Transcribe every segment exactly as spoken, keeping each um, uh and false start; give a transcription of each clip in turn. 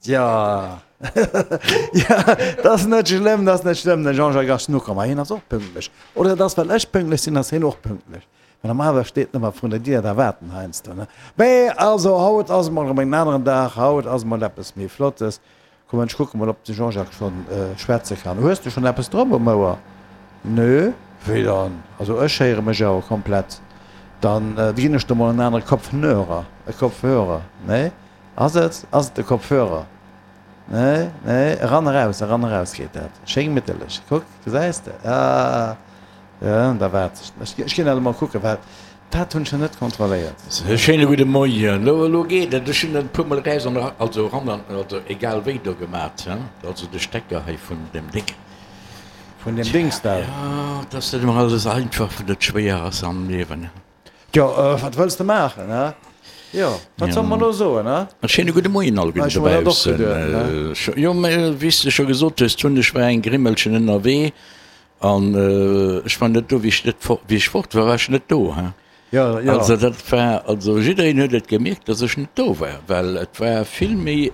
Ja, ja, dat ass net schlëmm, dat ass net schlëmm. De Jean-Jacques ass nokomm, ma hien ass och pünktlech. Oder et ass, well ech pünktlech sinn, ass hien och pünktlech. Well normalerweis steet en ëmmer vrun der Dier, da waart en heiansdo, ne? Mee also, haut ass emol erëm en aneren Dag, haut ass emol eppes méi Flottes. Komm, ech kucke mol, ob de Jean-Jacques schonn schwätze kann. Hues de schonn eppes drop um Ouer? Nö? Wéi dann? Also ech héiere mech awer komplett. Dann ginn ech der mol en anere Kopfnörer, e Kopfhörer. Nee? Ass et, ass et de Kopfhörer? Nee, nee, eran, eraus, eran, eraus geet dat. Schéi gemitterlech. Kuck, gesäis de? Ah, jo, da waart ech. Ech ginn dat emol kucken, well dat hunn ech nach net kontrolléiert. E schéine gudde Moien. Elo, elo geet et. Ech hunn et e puermol eraus an era, also eran an, also egal wéi do gemat, he, also de Stecker hei vun dem Déng. Vun dem Dings da. Jo, et ass net ëmmer alles einfach, wann et schwéier ass am Liewen. Jo, wat wëlls de maachen, he? Jo, wat solle mer elo soen, he? E schéine gudde Moien alleguerten Ech hu mer dat och dobaussen. geduet, ne? Jo, mä wéi s de scho gesot hues, hunn ech war eng Grimmelchen ënnerwee an ech war net do, wéi ech net fort, wéi ech fort war, war ech net do, he? Jo, jo. Also dat war, also jiddereen huet et gemierkt, dass ech net do war, well et war vill méi,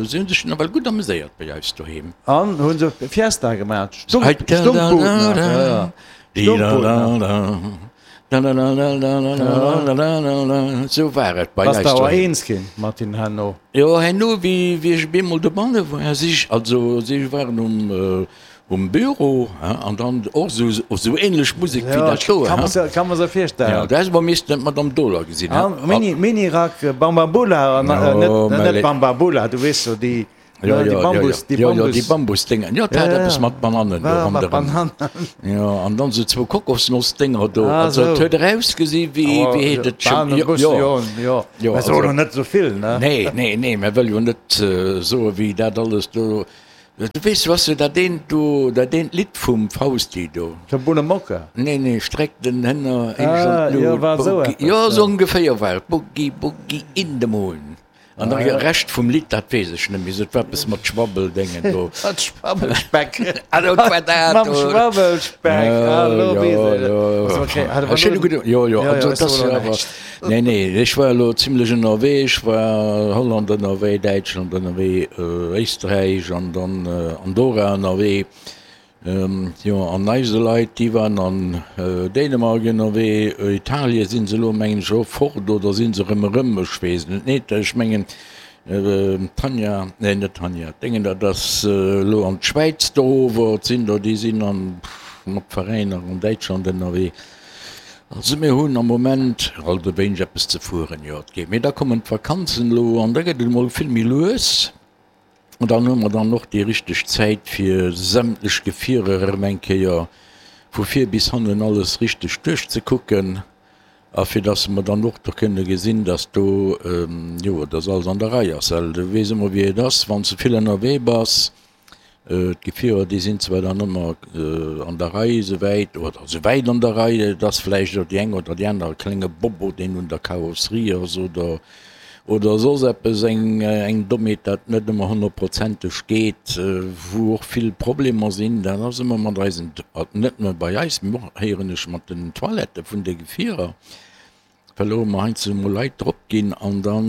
si hunn sech nawell gutt ameséiert bei eis doheem. An hu se Fiesta gemaach, Stunk, Stunkbud nach, jo, jo, Stunkbud nach. Sou war et bei Bass eis de awer doheem. eens ginn mat hinnen herno? Jo, herno, wéi wéi ech op eemol dobanne war, si ech, also si waren um Um Büro, hein, an dann och sou, sou ähnlech Musek wéi Ja, dat do, kann hein. mer se, kann mer se virstellen. Ja, da häss mer missten d'Madame Dohler gesinn, hein. An Mini, Minirack, Bambambula, an, äh, net, Jo, mä net le. Bambambula, du weess jo, déi, Ja, ne, déi ja, ja, ja, Bambus, déi ja, ja, déi Bambus. Bambusdénger. Jo, dat Ja, hat ja, eppes ja. mat Banannen do War mat ronderëm. Banannen. Jo, an dann sou zwou Kokosnossdénger do. Ah, Also, et sou. huet erausgesi wéi, Oh, wéi heet et scho, jo, Bananenbus, jo. jo, jo. Jo, Mä so also. elo net sou vill, ne? Nee, nee, nee, mä wëll jo net soe wéi dat alles do. Du weess, du has jo dat eent do, dat eent Lidd vum Fausti do. Vum Bunnemocke? Nee, nee, Streck den Hënner eech an Ah, jo, d'Lut, war esou Boogie, eppes, jo, jo. esou ongeféier war et, Boogie, Boogie in the Moon. An Ah, de jo. Rescht vum Lidd, dat weess ech net méi, et war eppes mat Schwabbeldéngen do. Mat Schwabbelspeck. Ah, dat war dat Mam do. Schwabbelspeck, ah, Jo, elo jo, weess ech et. jo. Ass okay, hat E awer schéine elo, gudde, jo, jo, jo, jo, also ech et soe ass elo jo awer, näischt. nee, nee, ech war elo zimlech ënnerwee, ech war Holland ënnerwee, Däitschland ënnerwee, Éisträich an dann Andorra ënnerwee, jo, an eise Leit, déi waren an Dänemark ënnerwee, Italie si se elo mengen ech och fort oder si se erëm erëm, ech weess et net, ech mengen d'Tanja, nee net d'Tanja, d'Déngen, dat ass elo an d'Schwäiz do ower, et sinn der, déi sinn an mat Veräiner an Däitschland ënnerwee. Also mir hunn am Moment alt e wéineg eppes ze fueren, jo et geet. Mee da kommen d'Vakanzen elo an da gëtt et emol vill méi lues. An dann hu mer dann och déi richteg Zäit fir sämtlech Gefierer erëm eng Kéier vu vir bis hannen alles richteg duerchzekucken a fir dass mer dann och do kënne gesinn, dass do, jo, dass alles an der Rei ass. Well du weess ëmmer wéi et ass, wann s de vill ënnerwee bass, D'Gefierer, déi sinn zwar dann ëmmer an der Rei esouwäit, oder esouwäit an der Rei, et ass vläicht och déi eng oder déi aner e klenge Bobbo, deen un der Karosserie ass oder, oder soss eppes, eng, eng Dommheet, dat net ëmmer honnertprozenteg geet, wou och vill Problemer sinn. Dat ass ëmmer mat eisen, net nëmme bei eis, mee och, héieren ech, mat den Toilettë vun de Gefierer. Well elo mer heiansdo emol Leit drop ginn an da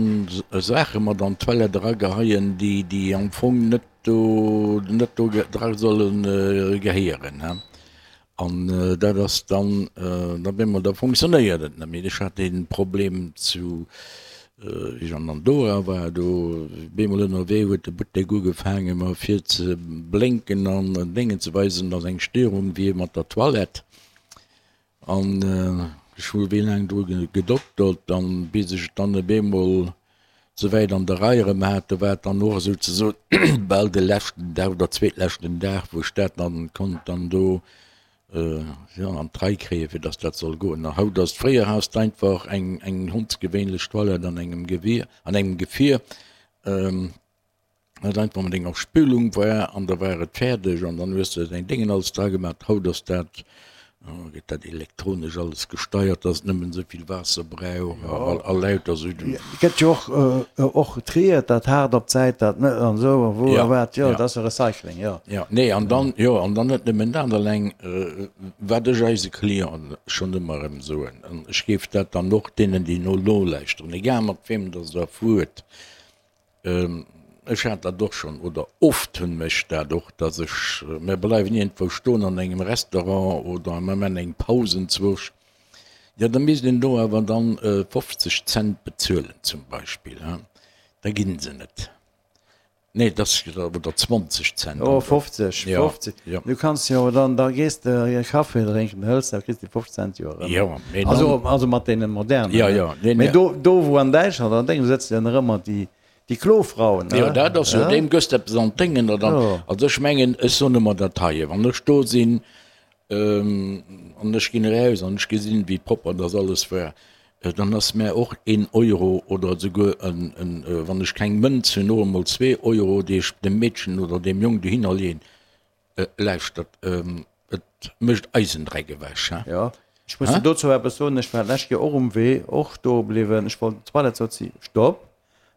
Saache mat an d'Toilette erageheien, déi, déi am Fong net do, net do dra solle gehéieren. An dat ass dann, da op eemol, da funktionéiert et net méi. Ech hat dee Problem zu, wéi ech an Andorra war, do op eemol ënnerwee huet de Buttek ugefaange mer fir ze blénken an Déngen ze weisen, datt eng Störung wier mat der Toilette. An ech hu wéi laang dru gedoktert, an bis ech et dann op eemol souwäit an der Rei erëm hat, do war et dann och souzesoen bal de leschten Dag oder zweetleschten Dag, wou ech dat dann konnt dann do, jo, an d'Rei kréien, fir dass dat soll goen. A haut ass, fréier has de einfach eng, eng hondsgewéinlech Toilette an engem Gewier, an engem Gefier, dat einfach mat enger Spülung war an da war et fäerdeg an dann hues de däin Déngen alles dra gemaat. Haut ass dat, gëtt dat elektronesch alles gesteiert, dass et nëmmen esou vill Waasser brauch a lauter esou. Et gëtt jo och och triert, dat haart op d'Säit, dat net an esou a wou a wat, jo dat ass jo Recycling, jo. Jo, nee an dann, jo an dann net nëmmen dat eleng, wat ech eise Clienten schonn ëmmer erëm soen, an ech géif dat dann och deenen déi no nolauschteren, egal mat weem dass der fuert, Ech hat dat och schonn, oder oft hunn ech dat och, dass ech, mir bleiwen iergendwou stoen an engem Restaurant oder mir man eng Paus enzwousch, jo da misst een do awer dann fofzeg Cent bezuelen zum Beispill, hein, da ginn se net. Nee, dass, oder zwanzeg Cent. Oh, fofzeg, fofzeg, du kanns jo dann, da gees de e Café drénken, hëls, da kriss de fofzeg Cent jo erëm. Jo, mee dann. Also, also mat deene modernen. Jo, jo, nee, nee. Mee do, do wou an Däitschland an Déngen, do sëtzen jo nach ëmmer déi, déi Klofrauen, ne? Jo, dat ass jo, deem gëss de eppes an d'Déngen, oder dann, also ech mengen, ech soen ëmmer dat heie, wann ech do sinn, an ech ginn eraus an ech gesinn, wéi propper dass alles war, Dann ass mär och een Euro oder esouguer en, en, wann ech keng Mënz hunn, och emol zwee Euro, déi ech dem Meedchen oder deem Jong dohinner leeën. Lauschtert, et mécht eisen Dreck ewech, he? Jo, ech muss der dozou eppes soen, Ech war d'lescht Joer och um Wee, och stoe bliwwen, ech wollt op d'Toilette, sot si, Stopp,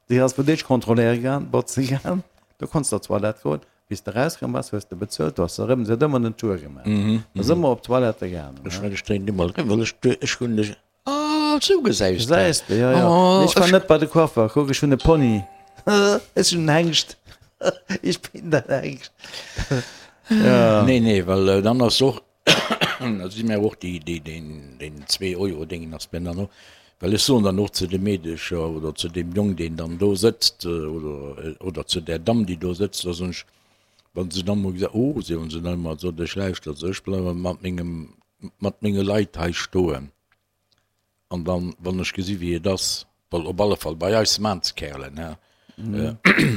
déi ass fir d'éischt kontrolléiere gaang, botze gaang, do konns de op d'Toilette goen. Wéi s de erauskomm bass, hues de bezuelt, du has erëm, se huet ëmmer den Tour gemaach, ass ëmmer op d'Toilette gaangen. Ech well, ech dréinen emol erëm, well ech, ech hunn dech. Ah, sou gesäis de. Gesäis de, jo, jo. Oh, ech war net bei de Coiffer. Kuck, ech hunn e Pony. Ech sinn en Hengst. Ich bin der Hengst. Ja. Nee, nee, well dann ass och, da si mir och déi, déi, deen, deen Zwee-Euro-Déngen ass mir dann och, well ech soen dann och zu de Meedecher oder zu deem Jong, deen dann do sëtzt, oder, oder zu där Damm, déi do sëtzt, da soen ech, wa se dann emol gesot, oh, soen se dann ëmmer, sot ech, lauschtert, ech bleiwe mat mengem, mat menge Leit hei stoen. An dann, wann ech gesi wéi et ass, well op alle Fall bei eis Maanskerlen, hä,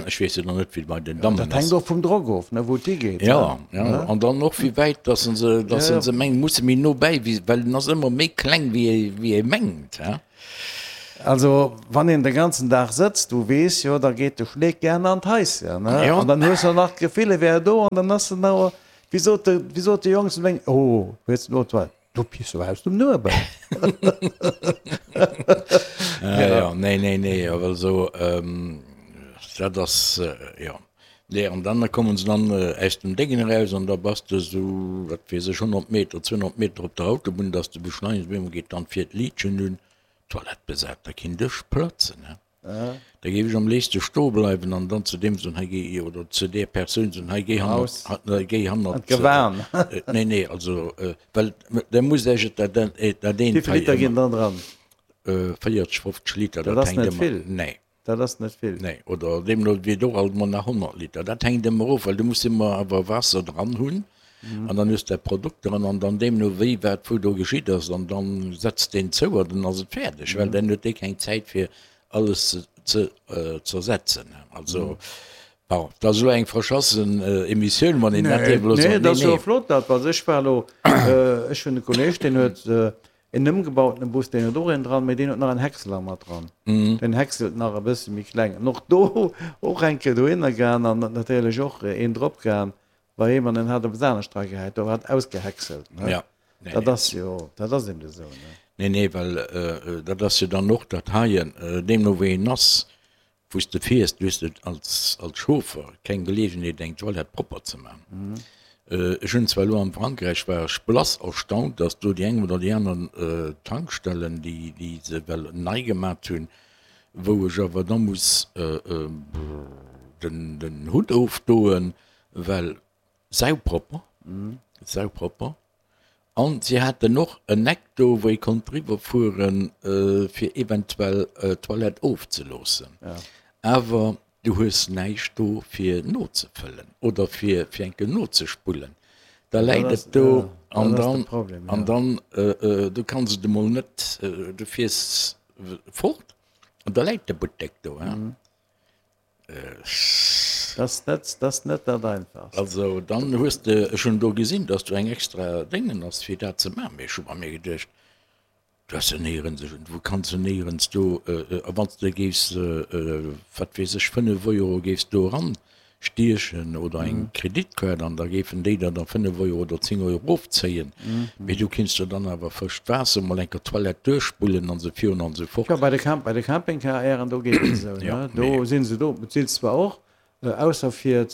ech weess jo dann net wéi et bei den Dammen ass. Dat hänkt och vum Drock of, ne, wou et higeet. Jo, jo, an dann och wéi wäit dass se se, dass se se mengen, musse méi no bäi, wéi, well en ass ëmmer méi kleng wéi ee, wéi ee mengt, hä. Also wann een de ganzen Dag sëtzt, du weess jo, da geet de Schleek gären an d'Haischen, ne, an dann hues de nach d'Gefill, e wär do, an dann ass en awer, wéi sot de, wéi sot de Jong zu mengem, oh, hues de elo d'Toilette? Du piss jo aus dem Nuebel. Ja, ja, nee, nee, nee, awer esou, dat ass, jo. Nee, an dann kommen se dann aus dem Déngen eraus an da bass de esou, wat weess ech, honnert Meter, zweehonnert Meter op der Autobunn, dass de beschleunegst, op eemol geet dann vir d'Liitchen un, Toilette besat, da keen Dësch platzen, he. Da géif ech am léifste stoe bleiwen an dann zu deem soen, hei géi, oder zu där Persoun soen, hei géi hannert, géi hannert. Gewan. Nee, nee, also, well da musst Iech et dat, dat eent hei. Wéi vill Liter ginn dann dran? véierzeg, fofzeg Liter, dat ass net vill. Nee. Dat ass net vill. Nee, oder deemno wéi et och alt mol nach honnert Liter, dat hänkt ëmmer of, well du muss ëmmer awer Waasser dran hunn an dann hues de dat Produkt dran an dann deemno wéi wat wou do geschitt ass an dann setzt deen zou an dann ass et fäerdeg, well dann huet dee keng Zäit fir alles ze zersetzen. Also bon, dat ass elo eng verschassen Emissioun, wann een dat dierf elo soen. Nee, dat ass jo flott dat, well ech war elo, ech hunn e Kolleeg, deen huet en ëmgebautene Bus, deen huet och een dran, mee deen huet nach en Häcksler mat dran. Deen häckselt nach e bësse méi kleng. An och do och eng Kéier dohinner gaang an natierlech och een drop gaang bei him an en hat eppes anescht dra gehäit, do hat ausgehäckselt, ne? Ja. Dat ass jo, dat ass eben esou, ne? Nee, nee, well dat ass jo dann och dat heien, deemno wéi een ass, wou s de fiers, du hues als, als Chauffer keng Geleegenheet eng Toilette propper ze man. Ech hunn zwar elo am Frankräich war ech blass erstaunt, datt do déi eng oder déi aner Tankstellen, déi, déi se well nei gemat hunn, wou ech awer da muss den, den Hutt ofdoen, well saupropper, saupropper. An si haten och en Eck do, wou ee konnt driwwer fueren, fir eventuell d'Toilette ofzeloossen. Awer du hues näischt do, fir nozefëllen oder fir fir eng Kéier nozespullen. Da läit et do an dann, an dann, du kanns et emol net, du fiers fort an da läit de Buttek do. Dat ass net dat Einfachst. Also dann hues de, ech hunn do gesinn, datt do eng extra Déngen ass fir dat ze maachen, mee ech hu bei mir geduecht, du has jo néierens, du kanns jo néierens do, a wann s de géifs, wat weess ech, fënnef Euro géifs do eran stiechen oder eng Kreditkaart an da géifen déi der da fënnef Euro oder zéng Euro ofzéien, mee du kinns jo dann awer frëscht Waasser mol eng Kéier d'Toilette duerchspullen an esou virun an esou fort. Jo, bei de Camp, bei de Campingcaren, do geet et esou, ne? Do si se do, bezilt zwar och, ausser fir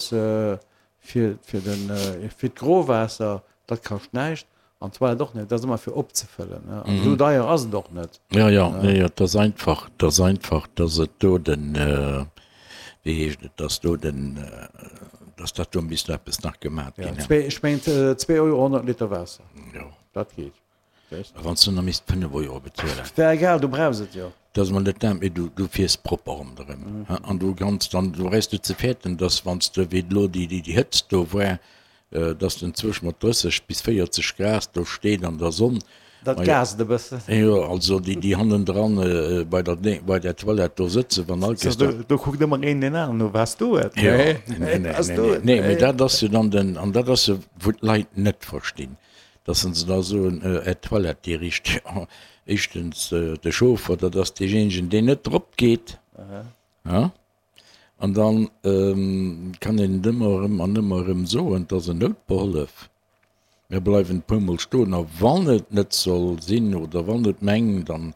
fir fir den fir d'Growaasser, dat kascht näischt, an d'Toilette och net, dat ass ëmmer fir opzefëllen, ne? An esou deier ass et och net. Jo, jo, jo, jo, et ass einfach, et ass einfach, dass et do den, wéi heescht et, dass do den, dass dat do misst eppes nach gemat ginn. Zwee, ech mengen zwee Euro honnert Liter Waasser. Jo. Dat geet. A wann s du nach misst fënnef Euro bezuelen. Wär egal, du brauchs et jo. Dat ass mol net dat, mee du, du fiers propper ronderëm. An du kanns dann, du brauchs net ze fäerten, dass wann s de, wéi elo déi, déi Hëtzt do war, dass den zwësch mat drësseg bis véierzeg Grad do steet an der Sonn. Dat gaast e bëssen. Jo, also déi, déi hannendran bei der, bei der Toilette do sëtzen, wann all Kéiers. Do, do kuckt ëmmer een deen aneren no, Waars du et? Jo, nee, nee, nee, nee, nee, mee dat ass jo dann den, an dat ass jo, wou d'Leit net verstinn, dass se da soen, Är Toilette, déi richt. Jo, éischtens, de Chauffer, dat ass deejéinegen, deen net drop geet. Aha. An da kann een et ëmmer erëm an ëmmer erëm soen, et ass en Noutbehollef. Mir bleiwen e puermol stoen a wann et net soll sinn oder wann et mengt, dann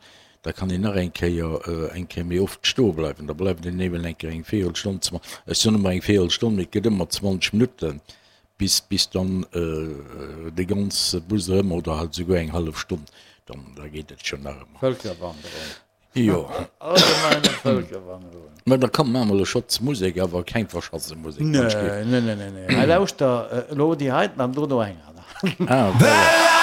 da kann een nach eng Kéier eng Kéier méi oft stoe bleiwen. Da bleift een eben eng Kéier eng Véierelstonn, ech soen ëmmer eng Véierelstonn, mee et gëtt ëmmer zwanzeg Minutten, bis bis dann de ganze Bus erëm oder halt esouguer eng hallef Stonn, dann da geet et schonn nach ëmmer. Vëlkerwanderung. Jo. Allgemeine Vëlkerwanderung. Mä da komm, maache mer elo Schotz Musek, awer keng verschasse Musek. Nee, nee, nee, nee, nee. Hei lauschter elo déi heiten an dono eng aner. Ah, voilà.